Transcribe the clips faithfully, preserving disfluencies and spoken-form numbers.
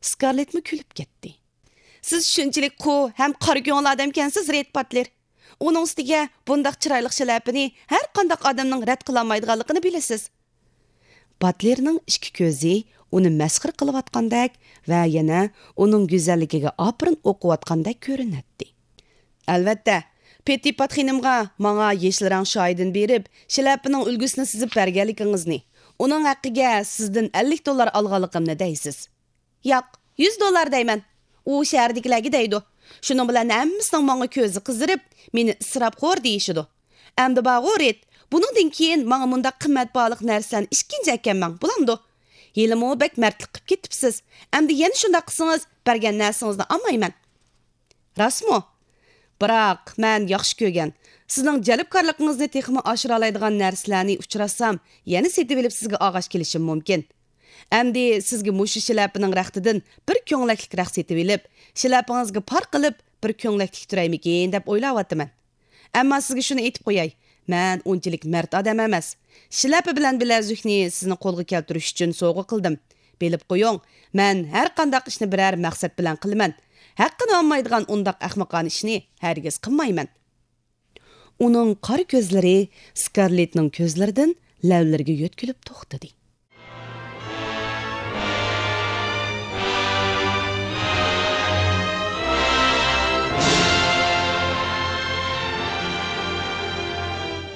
سكارلېتمۇ كۈلۈپ كەتتى. سىز شۇنچىلىك قۇ ھەم قارا كۆڭۈل ئادەمكەنسىز، رېد باتلېر. ئۇنىڭ ئۈستىگە بۇنداق چىرايلىق شىلەپىنى ھەر قانداق ئادەمنىڭ رەت قىلالمايدىغانلىقىنى بىلىسىز. باتلېرنىڭ ئىككى كۆزى ئۇنى مەسخىرە قىلىۋاتقاندەك ۋە يەنە ئۇنىڭ گۈزەللىكىگە ئاپىرىن ئوقۇۋاتقاندەك كۆرۈنەتتى. ئەلۋەتتە، پېتتىپات خېنىمغا ماڭا يېشىل رەڭ شايىدىن بېرىپ، شىلەپىنىڭ ئۈلگىسىنى سىزىپ بەرگەنلىكىڭىزنى، ئۇنىڭ ھەققىگە سىزدىن ئەللىك دوللار ئالغانلىقىمنى دەيسىز. ياق، يۈز دوللار دەيمەن. ئۇ شەھەردىكىلەرگە دەيدۇ. شۇنىڭ بىلەن ھەممىسىنىڭ ماڭا كۆزى قىزىرىپ، مېنى ئىسراپخور دېيىشىدۇ. ئەمدى بارغۇ، رېد، بۇنىڭدىن كېيىن ماڭا مۇنداق قىممەت باھالىق نەرسىلەرنى ئىككىنچى ئەكەلمەڭ، بولامدۇ؟ ھېلىمۇ بەك مەردلىك قىلىپ كېتىپسىز. ئەمدى يەنە شۇنداق قىلسىڭىز، بەرگەن نەرسىڭىزنى ئالمايمەن. راستمۇ؟ بىراق، مەن ياخشى كۆرگەن، سىزنىڭ جەلپكارلىقىڭىزنى تېخىمۇ ئاشۇرالايدىغان نەرسىلەرنى ئۇچراتسام، يەنە سېتىۋېلىپ سىزگە ئالغاچ كېلىشىم مۇمكىن. ئەمدى سىزگە مۇشۇ شىلەپىنىڭ رەختىدىن بىر كۆڭلەكلىك رەخت سېتىۋېلىپ، شىلەپىڭىزگە پار قىلىپ، بىر كۆڭلەكلىك تۈرەيمىكىن دەپ ئويلاۋاتىمەن. ئەمما سىزگە شۇنى ئېيتىپ قوياي، مەن ئۇنچىلىك مەرد ئادەم ئەمەس. شىلەپە بىلەن بىلەزۈكنى سىزنىڭ قولغا كەلتۈرۈش ئۈچۈن سوۋغا قىلدىم. بىلىپ قويۇڭ، مەن ھەر قانداق ئىشنى بىرەر مەقسەت بىلەن قىلىمەن. ھەققىنى ئالمايدىغان ئۇنداق ئەخمىقانە ئىشنى ھەرگىز قىلمايمەن. ئۇنىڭ قارا كۆزلىرى سكارلېتنىڭ كۆزلىرىدىن لەۋلىرىگە يۆتكىلىپ توختىدى.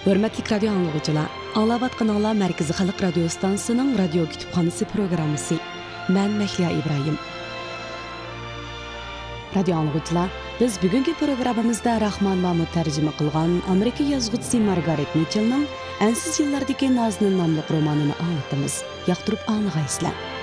ھۆرمەتلىك رادىيو ئاڭلىغۇچىلار، ئاڭلاۋاتقىنىڭلار مەركىزىي خەلق رادىيو ستانسىسىنىڭ رادىيو كۇتۇپخانىسى پروگراممىسى. مەن مەھلىيا ئىبراھىم. رادىيو ئاڭلىغۇچىلار، بىز بۈگۈنكى پروگراممىمىزدا راخمان مامۇت تەرجىمە قىلغان ئامېرىكا يازغۇچىسى مارگارېت مىچېلنىڭ ئەنسىز يىللاردىكى نازنىن ناملىق رومانىنى ئاڭلىتىمىز. ياقتۇرۇپ ئاڭلىغايسىلەر.